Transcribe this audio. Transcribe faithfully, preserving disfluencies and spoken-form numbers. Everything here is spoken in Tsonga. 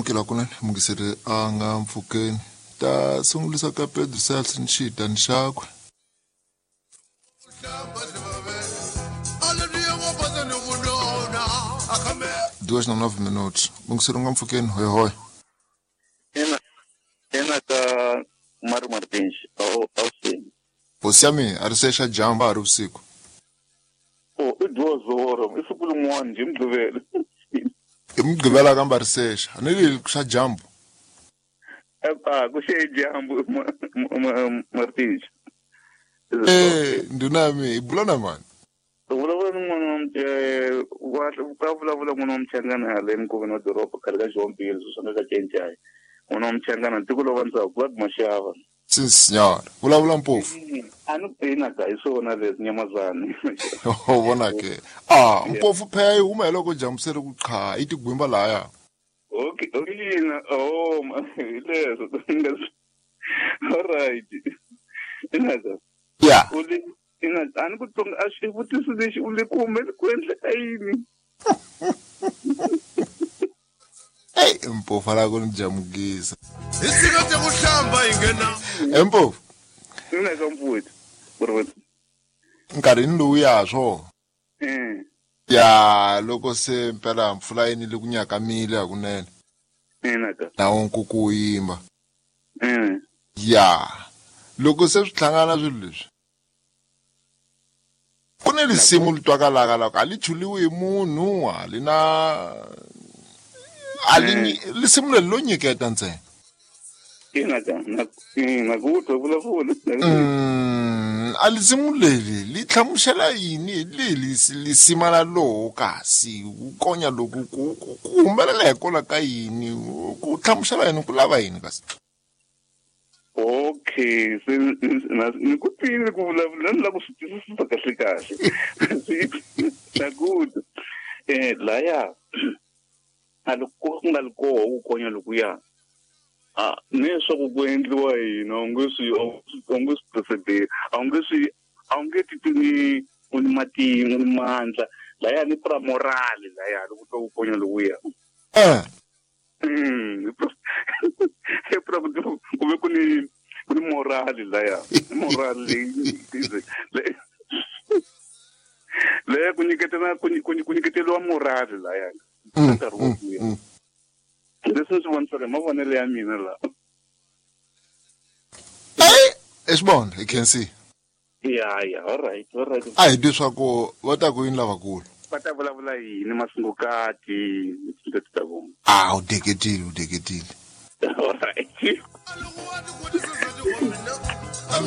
Amukela kunene mungiseri a nga mpfhukeni ta sungulisa ka Pedro Sales ni xitani xakwe. Duas na nove minutos. Mungiseri nga mpfhukeni hoy hoy. Ena ena ka Mário Martins ao ao sim. Hosi ya mina a ri se xa dyambu a ri vusiku. Oh, i duas horas, i siku rin'wana hi Mugqivela. Hi Mugqivela kambe a ri sexa. A ni ri xa dyambu. Ah, ku xe dyambu Martins. Eh, ndhuna ya mina hi bula na mani? Vulavula ni n'wana wa wa ka vulavula n'wana wa Mchangana hala eminkoveni wa doroba khale ka Xihombili sweswi nga ka Cencai. N'wana wa Mchangana tiko lo vandzaku Vlad Mashava. Sim senhor. Vulavula Mpofu. A ni ina ka hi swona leswi nyamazana. O vona ke. Ah, Mpofu phela yi huma hi loko dyambu se ri ku qha, yi tigwimba lahaya. Okay, okay na oh, hi leswo. All right. Ina ka. Yeah. U le ina a ni ku tlonga a xivutiso lexi u le ku humele ku endleka yini? Hey, Mpofu la ku ni jamukisa. Hi tshika te ku hlamba hi nghena. Mpofu. Ina ka mfuwethu. Mfuwethu. Nkarhini lowuya swo. Eh. Ya loko se mpela mpfula yi nile ku nyakamile hakunene. Ina ka. Na nkuku wu yimba. Eh. Ya. Loko se swi hlangana swilo leswi. Ku ni risimu li twakalaka loko a li chuliwi hi munhu a li na a li risimu leri lo nyiketa ntsena. Ina ka na na ku twa vulavula. Mm, a risimu leri li hlamusela yini hi li lisima la lowo kasi ku konya loku ku ku humelela hikwalaho ka yini ku hlamusela yini ku lava yini kasi? Okay, se ni ku twile ku vulavula ni lava ku swi twisisa kahle kahle. Na ku eh laya a loko ku nga ri koho ku konya lokuya. Ah, leswaku ku endliwa yini a wu nge swi a wu nge swi procede a wu nge swi a wu nge titwi ni u ni matimu ni mandla laya ni pra morale laya loko twa ku konya lokuya. Eh. Mm, i pra ku ku ve ku ni ku ni morale laya morale leyi leyi ku nyiketela ku ku nyiketeriwa morale laya nkarhi wo kuya. Leswi ni swi vonisaka hi mavonelo ya mina laha. Hey, Esbon, I can see. Yeah, yeah, all right, all right. A hi twi swa ku va ta ku yini lavakulu. Va ta vulavula yini masungukati tinto ta vona. Ah, u deketile, u deketile. All right.